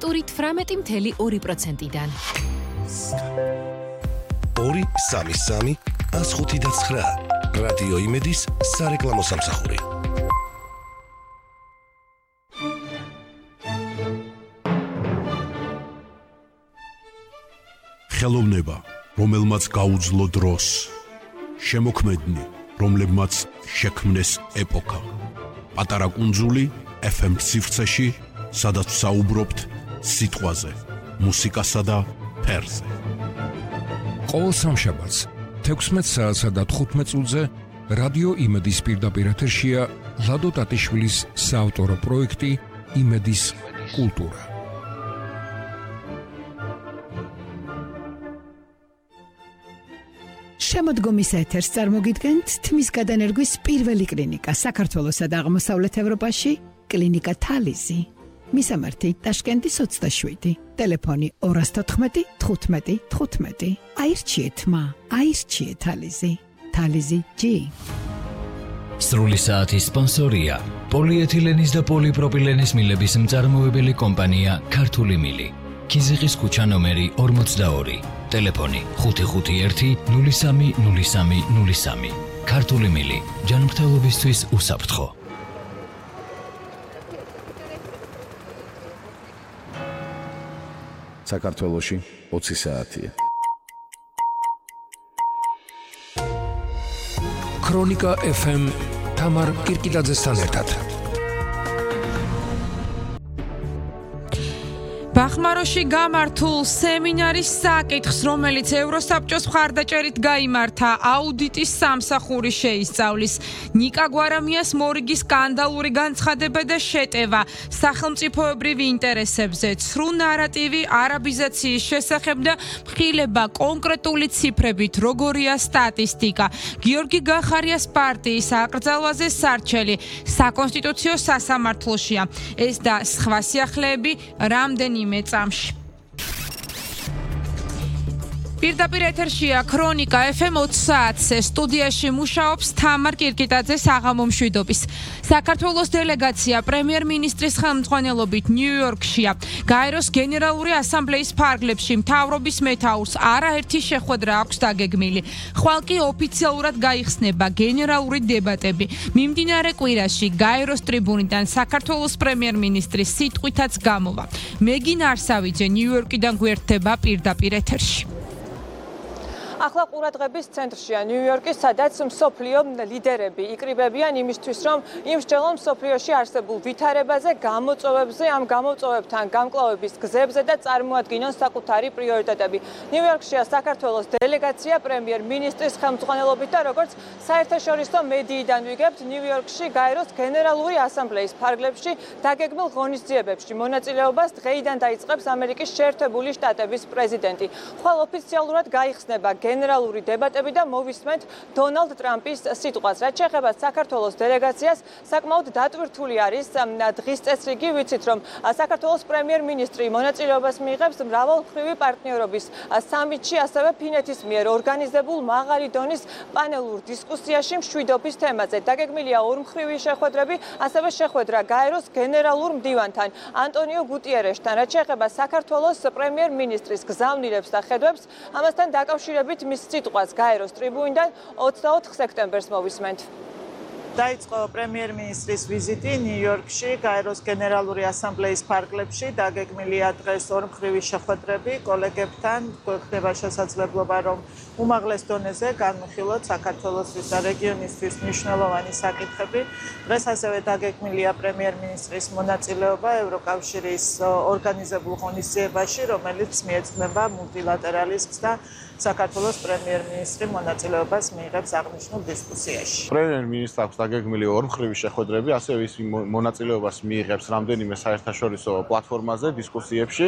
ტურით 18.2%-დან. 2-3-3-105-9 რადიო იმედის სარეკლამო სამსახური. ხელოვნება, რომელმაც გაუძლო დროს, შემოქმედნი, რომლებმაც შექმნეს ეპოქა. პატარა კუნძული FM სივრცეში, სადაც საუბრობთ სიტყვაზე, მუსიკასა და ფერზე. ყოველ სამშაბათს 16 საათსა და 15 წუთზე რადიო იმედის პირდაპირ ეთერშია ლადო ტატიშვილის საავტორო პროექტი იმედის კულტურა. შემოდგომის ეთერს წარმოგიდგენთ თმის გადანერგვის პირველი კლინიკა საქართველოსა და აღმოსავლეთ ევროპაში, კლინიკა თალიზი. მისამართი ტაშკენტის 27, ტელეფონი 214 15 15. აირჩიეთ მა, აირჩიეთ თალიზი. თალიზი G. სრული საათის სპონსორია პოლიეთილენის და პოლიპროპილენის მილების მწარმოებელი კომპანია ქართული მილი. ქიზიყის ქუჩა ნომერი 42, ტელეფონი 551 03 03 03. ქართული მილი, ჯანმრთელობისთვის უსაფრთხო. საქართველოში 20 საათია. ქრონიკა FM თამარ კირკიტაძესთან ერთად. ბახმაროში გამართულ სემინარის საკითხს, რომელიც ევროსაბჭოს მხარდაჭერით გაიმართა, აუდიტის სამსახური შეისწავლის. ნიკა გვარამიას მორიგი სკანდალური განცხადება და შეტევა სახელმწიფოებრივ ინტერესებზე, ცრუ ნარატივი არაბიზაციის შესახებ და მხილება კონკრეტული ციფრებით, როგორია სტატისტიკა. გიორგი გახარიას პარტიის აკრძალვაზე სარჩელი საკონსტიტუციო სასამართლოშია. ეს და სხვა სიახლეები რამდენიმე წამში. პირდაპირ ეთერშია ქრონიკა FM 20 საათზე, სტუდიაში მუშაობს თამარ კირკიტაძე საღამო მშვიდობის. საქართველოს დელეგაცია პრემიერ-მინისტრის ხელმძღვანელობით ნიუ-იორკშია. გაეროს გენერალური ასამბლეის ფარგლებში მთავრობის მეთაურს არაერთი შეხვედრა აქვს დაგეგმილი. ხვალ კი ოფიციალურად გაიხსნება გენერალური დებატები. მიმდინარე კვირაში გაეროს ტრიბუნიდან საქართველოს პრემიერ-მინისტრის სიტყვითაც გამოვა. მეგინ არსავიძე ნიუ-იორკიდან გვერდება პირდაპირ ეთერში. ახლა ყურადღების ცენტრშია ნიუ-იორკი, სადაც მსოფლიო ლიდერები იკრიბებიან იმისთვის, რომ იმსჯელონ მსოფლიოში არსებულ ვითარებაზე, გამოწვევებზე, ამ გამოწვევებთან გამკლავების გზებზე და წარმოადგინონ საკუთარი პრიორიტეტები. ნიუ-იორკშია საქართველოს დელეგაცია პრემიერ-მინისტრის ხელმძღვანელობით და როგორც საერთაშორისო მედიიდან ვიგებთ, ნიუ-იორკში გაეროს გენერალური ასამბლეის ფარგლებში დაგეგმილ ღონისძიებებში მონაწილეობას დღეიდან დაიწყებს ამერიკის შეერთებული შტატების პრეზიდენტი. ხვალ ოფიციალურად გაიხსნება გენერალური დებატები და მოვისმენთ დონალდ ტრამპის სიტყვას. რაც შეეხება საქართველოს დელეგაციას, საკმაოდ დატვირთული არის დღის წესრიგი. ვიცით, რომ საქართველოს პრემიერ-მინისტრი მონაწილეობას მიიღებს მრავალმხრივი პარტნიორობის სამიტში, ასევე ფინეთის მიერ ორგანიზებულ მაღალი დონის პანელურ დისკუსიაში მშვიდობის თემაზე. დაგეგმილია ორმხრივი შეხვედრები, ასევე შეხვედრა გაეროს გენერალურ მდივანთან ანტონიო გუტიერეშთან. რაც შეეხება საქართველოს პრემიერ-მინისტრის გზავნილებს და ხედვებს, ამასთან დაკავშირებით მის სიტყვას გაეროს ტრიბუნიდან 24 სექტემბერს მოვისმენთ. დაიწყო პრემიერ-მინისტრის ვიზიტი ნიუ-იორკში, გაეროს გენერალური ასამბლეის ფარგლებში. დაგეგმილია დღეს ორმხრივი შეხვედრები კოლეგებთან. გვექნება შესაძლებლობა, რომ უმაღლეს დონეზე განვიხილოთ საქართველოსთვის და რეგიონისთვის მნიშვნელოვანი საკითხები. დღეს ასევე დაგეგმილია პრემიერ-მინისტრის მონაწილეობა ევროკავშირის ორგანიზებულ ღონისძიებაში, რომელიც მიეძღვნება მულტილატერალიზმს და საქართველოს პრემიერ-მინისტრი მონაწილეობას მიიღებს აღნიშნულ დისკუსიაში. პრემიერ-მინისტრს აქვს დაგეგმილი ორმხრივი შეხვედრები, ასევე ის მონაწილეობას მიიღებს რამდენიმე საერთაშორისო პლატფორმაზე, დისკუსიებში.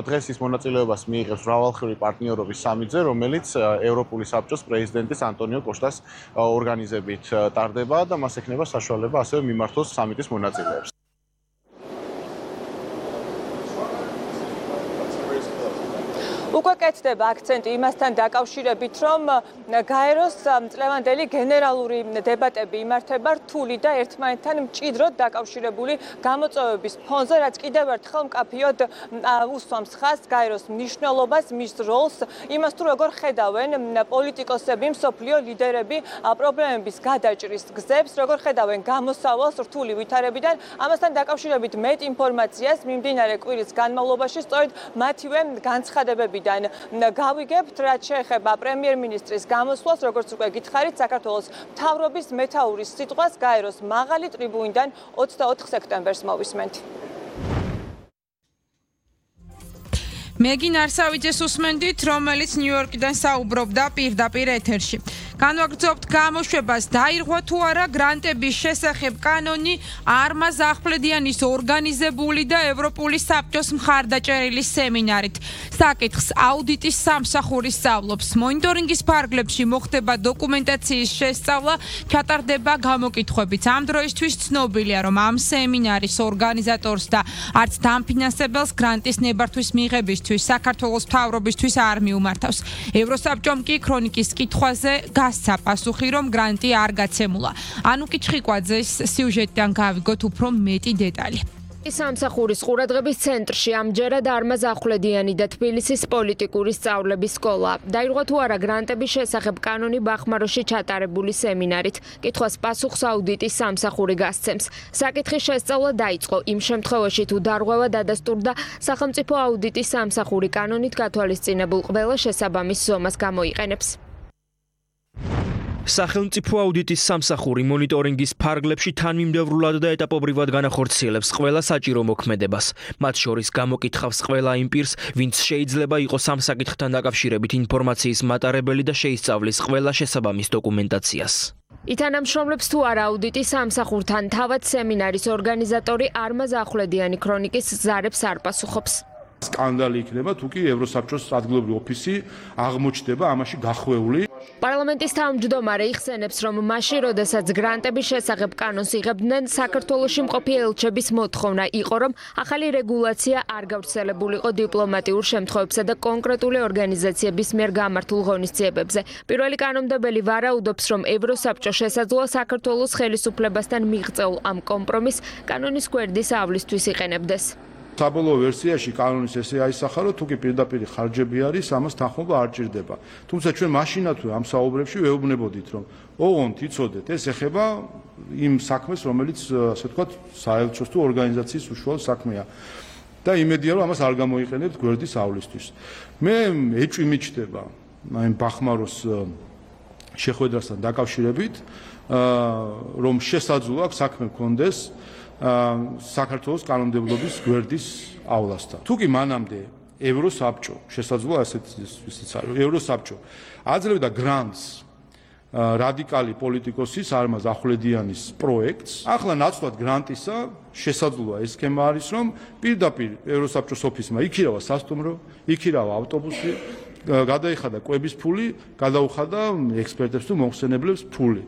დღეს ის მონაწილეობას მიიღებს მრავალმხრივი პარტნიორობის სამიტზე, რომელიც ევროპული საბჭოს პრეზიდენტის ანტონიო კოშტას ორგანიზებით ტარდება და მას ექნება საშუალება ასევე მიმართოს სამიტის მონაწილეებს. უკვე კეთდება აქცენტი იმასთან დაკავშირებით, რომ გაეროს წლევანდელი გენერალური დებატები იმართება რთული და ერთმანეთთან მჭიდროდ დაკავშირებული გამოწვევების ფონზე, რაც კიდევ ერთხელ მკაფიოდ უსვამს ხაზს გაეროს მნიშვნელობას, მის როლს, იმას თუ როგორ ხედავენ პოლიტიკოსები, მსოფლიო ლიდერები პრობლემების გადაჭრის გზებს, როგორ ხედავენ გამოსავალს რთული ვითარებიდან. ამასთან დაკავშირებით მეტ ინფორმაციას მიმდინარე კვირის განმავლობაში სწორედ მათივე განცხადებებიდან გავიგებთ, რაც შეეხება პრემიერ-მინისტრის გამოსვლას, როგორც უკვე გითხარით, საქართველოს მთავრობის მეთაურის სიტყვას გაეროს მაღალი ტრიბუნიდან 24 სექტემბერს მოვისმენთ. მეგინ არსავიძეს უსმენდით, რომელიც ნიუ-იორკიდან საუბრობდა პირდაპირ ეთერში. განვაგრძობთ გამოშვებას, დაირღვა თუ არა გრანტების შესახებ კანონი არმაზ ახვლედიანის ორგანიზებული და ევროპული საბჭოს მხარდაჭერილი სემინარით. საკითხს აუდიტის სამსახური სწავლობს. მონიტორინგის ფარგლებში მოხდება დოკუმენტაციის შესწავლა, ჩატარდება გამოკითხვებიც. ამ დროისთვის ცნობილია, რომ ამ სემინარის ორგანიზატორს და არც დამფინანსებელს გრანტის ნებართვის მიღებისთვის საქართველოს მთავრობისთვის არ მიუმართავს. ევროსაბჭომ კი ქრონიკის კითხვაზე გასცა პასუხი, რომ გრანტი არ გაცემულა. ანუკი ჩხიკვაძეს სიუჟეტიდან გავიგოთ უფრო მეტი დეტალი. სამსახურის ყურადღების ცენტრში ამჯერად არმაზ ახვლედიანი და თბილისის პოლიტიკური სწავლების სკოლა. დაირღვა თუ არა გრანტების შესახებ კანონი ბახმაროში ჩატარებული სემინარით. კითხვას პასუხს აუდიტის სამსახური გასცემს. საკითხის შესწავლა დაიწყო იმ შემთხვევაში, თუ დარღვევა დადასტურდა სახელმწიფო აუდიტის სამსახური კანონით გათვალისწინებულ ყველა შესაბამის ზომას გამოიყენებს. სახელმწიფო აუდიტის სამსახური მონიტორინგის ფარგლებში თანმიმდევრულად და ეტაპობრივად განახორციელებს ყველა საჭირო მოქმედებას. მათ შორის გამოკითხავს ყველა იმ პირს, ვინც შეიძლება იყოს ამ საკითხთან დაკავშირებით ინფორმაციის მატარებელი და შეისწავლის ყველა შესაბამის დოკუმენტაციას. ითანამშრომლებს თუ არა აუდიტის სამსახურთან თავად სემინარის ორგანიზატორი არმაზ ახვლედიანი ქრონიკის ზარებს არ პასუხობს. სკანდალი იქნება თუ კი ევროსაბჭოს ადგილობრივი ოფისი აღმოჩნდება ამაში გახვეული. პარლამენტის თავმჯდომარე იხსენებს, რომ მაშინ, როდესაც გრანტების შესახებ კანონს იღებდნენ, საქართველოში მყოფი ელჩების მოთხოვნა იყო, რომ ახალი რეგულაცია არ გავრცელებულიყო დიპლომატიურ შემთხვევებსა და კონკრეტული ორგანიზაციების მიერ გამართულ ღონისძიებებზე. პირველი კანონმდებელი ვარაუდობს, რომ ევროსაბჭო შესაძლოა საქართველოს ხელისუფლებასთან მიღწეულ ამ კომპრომისს კანონის გვერდისავლისთვის იყენებდეს. საბოლოო ვერსიაში კანონის ესე აისახა, რომ თუ კი პირდაპირ ხარჯები არის, ამას თანხმობა არ ჭირდება. თუმცა ჩვენ მაშინათვე ამ საუბრებში ვეუბნებოდით, რომ ოღონდ იცოდეთ, ეს ეხება იმ საქმეს, რომელიც ასე ვთქვათ, საელჩოს თუ ორგანიზაციის უშუალო საქმეა. და იმედია, რომ ამას არ გამოიყენებთ გვერდისავლისთვის. მე ეჭვი მიჩნდება აი ბახმაროს შეხვედრასთან დაკავშირებით, რომ შესაძლოა საქმე გქონდეს საქართველოს კანონმდებლობის გვერდისავლასთან. თუ კი მანამდე ევროსაბჭო შესაძლოა ასეთ ისიც არის, ევროსაბჭო აძლევდა გრანტს რადიკალი პოლიტიკოსის არმაზ ახვლედიანის პროექტს. ახლა ნაცვლად გრანტისა შესაძლოა ეს სქემა არის, რომ პირდაპირ ევროსაბჭოს ოფისმა იქირავა სასტუმრო, იქირავა ავტობუსი, გადაიხადა კვების ფული, გადაუხადა ექსპერტებს თუ მომხსენებლებს ფული.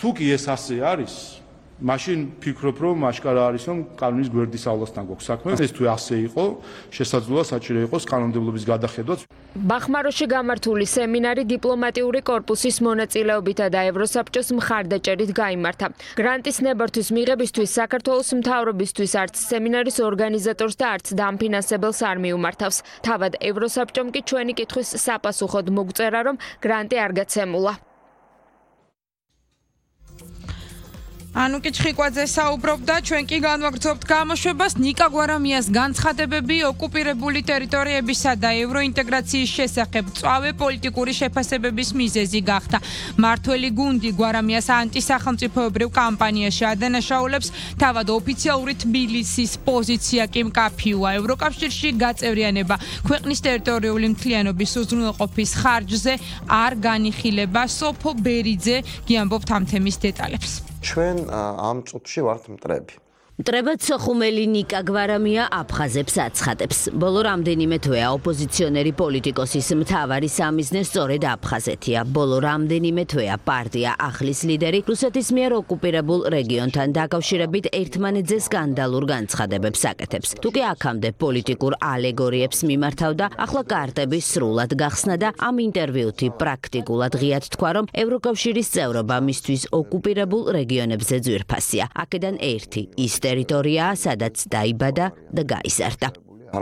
თუ კი ეს ასე არის, მაშინ ფიქრობ, რომ აშკარა არის, რომ კანონის გვერდისავლასთან გვაქვს საქმე. ეს თუ ასე იყო, შესაძლოა საჭირო იყოს კანონმდებლობის გადახედვაც. ბახმაროში გამართული სემინარი დიპლომატიური კორპუსის მონაწილეობითა და ევროსაბჭოს მხარდაჭერით გაიმართა. გრანტის ნებართვის მიღებისთვის საქართველოს მთავრობისთვის არც სემინარის ორგანიზატორს და არც დამფინანსებელს არ მიუმართავს. თავად ევროსაბჭომ კი ჩვენი კითხვის საპასუხოდ მოგწერა, რომ გრანტი არ გაცემულა. ანუკი ჩხიკვაძე საუბრობდა, ჩვენ კი განვაგრძობთ გამოშვებას. ნიკა გვარამიას განცხადებები ოკუპირებული ტერიტორიებისა და ევროინტეგრაციის შესახებ წავე პოლიტიკური შეფასებების მიზეზი გახდა. მართველი გუნდი გვარამიას ანტისახელმწიფოებრივ კამპანიაში ადანაშაულებს, თავად ოფიციალური თბილისის პოზიცია კი მკაფიოა. ევროკავშირში გაწევრიანება ქვეყნის ტერიტორიული მთლიანობის უზრუნველყოფის ხარჯზე არ განიხილება. სოფო ბერიძე გიამბობთ ამ თემის დეტალებს. ჩვენ ამ წუთში ვართ მტრები. მტრებად სოხუმელი ნიკა გვარამია აფხაზებს აცხადებს. ბოლო რამდენიმე თვეა ოპოზიციონერი პოლიტიკოსის მთავარი სამიზნე სწორედ აფხაზეთია. ბოლო რამდენიმე თვეა პარტია ახლის ლიდერი რუსეთის მიერ ოკუპირებულ რეგიონთან დაკავშირებით ერთმანეთზე სკანდალურ განცხადებებს აკეთებს. თუკი აქამდე პოლიტიკურ ალეგორიებს მიმართავდა, ახლა კარტები სრულად გახსნა და ამ ინტერვიუთი პრაქტიკულად ღიად თქვა, რომ ევროკავშირის წევრობა მისთვის ოკუპირებულ რეგიონებზე ძვირფასია. აქედან ერთი ის ტერიტორიაა, სადაც დაიბადა და გაიზარდა.